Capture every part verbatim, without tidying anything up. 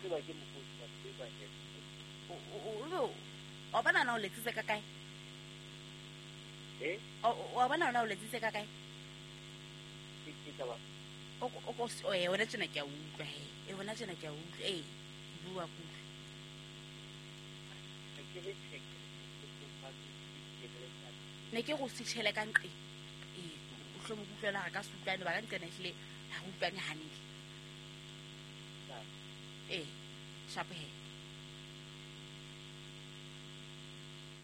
Tseba ke mokgosi wa tseba he. O o o bona na o letsitse ka kae? Eh? O o bona na o letsitse ka kae? Ke ke taba. O o ko o e wena tjena ke a utlwa he. E wena tjena ke a utlwa. Eh, bua kutlwa. Ke re check. Ne ke go switchele ka nqe. Eh, o hlomo kutlwela ga ka se utlwane ba ka nqena ehlile ha re utlwane hantle. Eh, sharp he.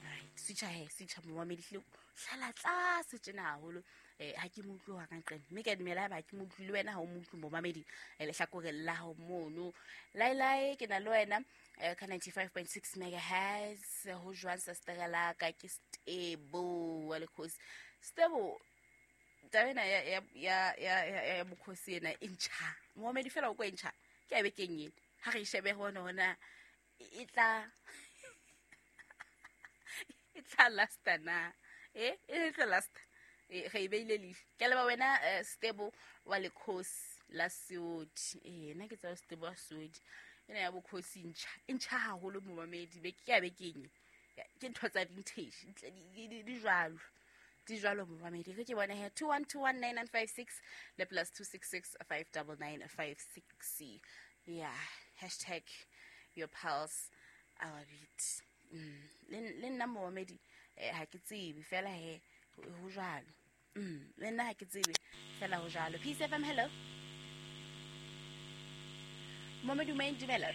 Right, switcha he, switcha momamedi hle. Hlala tlase tjena haholo. Eh, ha ke mo utlwe wa ka nqena. Mme ke a dumela haeba ha ke mo utlwe le wena ha o mo utlwe momamedi. Eh, lehlakoreng la hao mono. Laelae ke na le wena eh, ka ninety-five point six megahertz. Ho jwang sa stera la ka ke Stebo wa Lekgosi. Stebo, taba ena ya, ya, ya, ya, ya, ya bokgosi ena e ntjha. Momamedi fela o ko e ntjha. Ke a bekeng ena. Ha re e shebe hona hona e tla e tla lasta na. Eh, e tla lasta. Eh, re e beile leihlo. Ke a leboha wena, eh, Stebo wa Lekgosi la Seodi. Eh, nna ke tseba Stebo wa Seodi. Ena ya bokgosi e ntjha. E ntjha haholo momamedi. Be ke a bekeng. Ke ntho tsa vintage. Ntle di, di, di, di jwalo. Di jwalo momamedi. Re ke bone he two one two one nine nine five six le plus two six six five double nine five six. Yeah, hashtag your pulse our beat. Mm. Le, le nna momamedi, eh, ha ke tsebe fela he ho jwalo. Mm, le nna ha ke tsebe fela ho jwalo. Peace F M, hello. Momamedi o dumela.